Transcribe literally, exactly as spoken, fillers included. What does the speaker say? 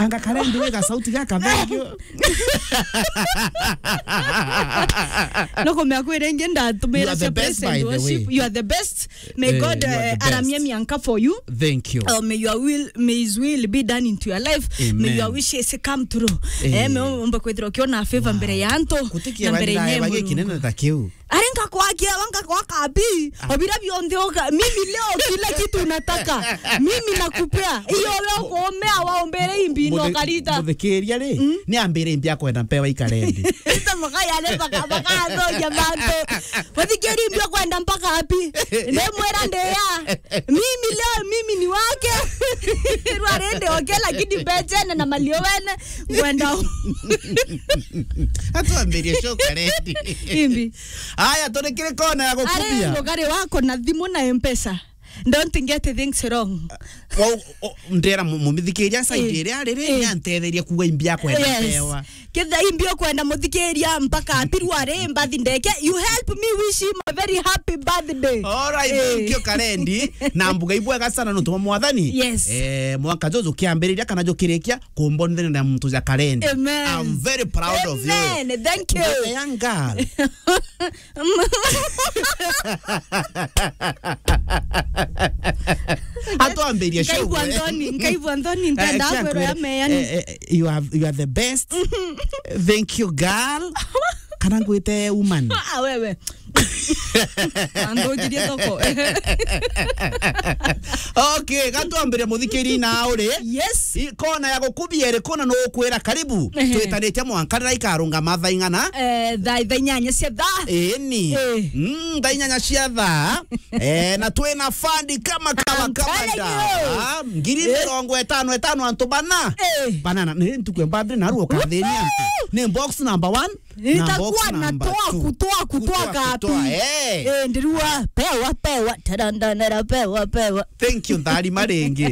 Nga Karendi wega sauti gaka, thank you. No kumea kwira ingi ndatumira. You are the cia best, praise and by the worship. Way. You are the best. May Eh, God, you are eh, the best. Aramia mianka for you. Thank you. Oh, may your will, may his will be done into your life. May your wishes come true. Amen. Eh, me umbe kwithirwa ukiona favor mbere ya antu. Kutikia na mbere ya banira Mungu. Bagikinene ta kiu. Arenga kwake, wanga kwa kabi. Ah. Obira bionthe oka. Mimi leo kila kitu nataka. Mimi nakupea. Iyo we ukuumea waombere imbi no karita. Muthikiria ri, mm, ni ambire imbi akwenda mpewa i Karendi. Ita makaya le baka, baka athoria bantu. Muthikiri imbi akwenda mpaka api? Ni mwera ndeya. Mimi leo, mimi ni wake. Rwarende oke, lakini mbechene na malio wene. Ngwenda u- Atwambirie show Karendi. Imbi. Aya, turi kiri kona ya gukubia. Ari mugari wako na thimu na M-Pesa. Don't get things wrong. Wa-, o-, ndera mu-, mumithikiriria side iria riri, eh, ni antetheria kuga imbi akwenda mpewa. Ketha imbi ukwenda muthikiria mpaka apirwa ri mbathi ndeke. You help me wish him a very happy birthday. All right, eh, thank you, Karendi. Na mbuga ibwega sana nontu bwa Mwathani. Yes. Eh, mwaka juju kiambiriria kana jukirikia, kumbonithania na muntu ja Karendi. Amen. I'm very proud of you. Amen. Thank you. Young girl. Atwambirie show. Nkaigua nthoni, nkaigua nthoni, ntenda, eh, kwirwo ya meani. Eh, eh, you are, you are the best. Thank you, girl. Kana ngwite woman? Ah, wewe. Andungirie thoko. Okay, gatwambire muthikiri na uri. Yes. I-, kona ya gukubia iri kona no ukwira karibu. Ehe. Twitanitie mwanka rira ikarungama thaa ing'ana? Eh, thaa, thaa inyanya cia thaa. Ĩni. Eh. Mm, thaa inyanya cia thaa. Eh, na twina fandi kama kawa. I'm telling you. Kama da. Ngiri mirongo itano itano antu bana. Eh. Banana, ni ntuku ya birthday na ruo kathini antu. Ni box number one. Itakuwa na twaku, twaku, twaku, twaku, twaku, twaku, eh. Eh, ndirua, pewa, pewa, tarandanera, pewa, pewa. Thank you, nthari maringi.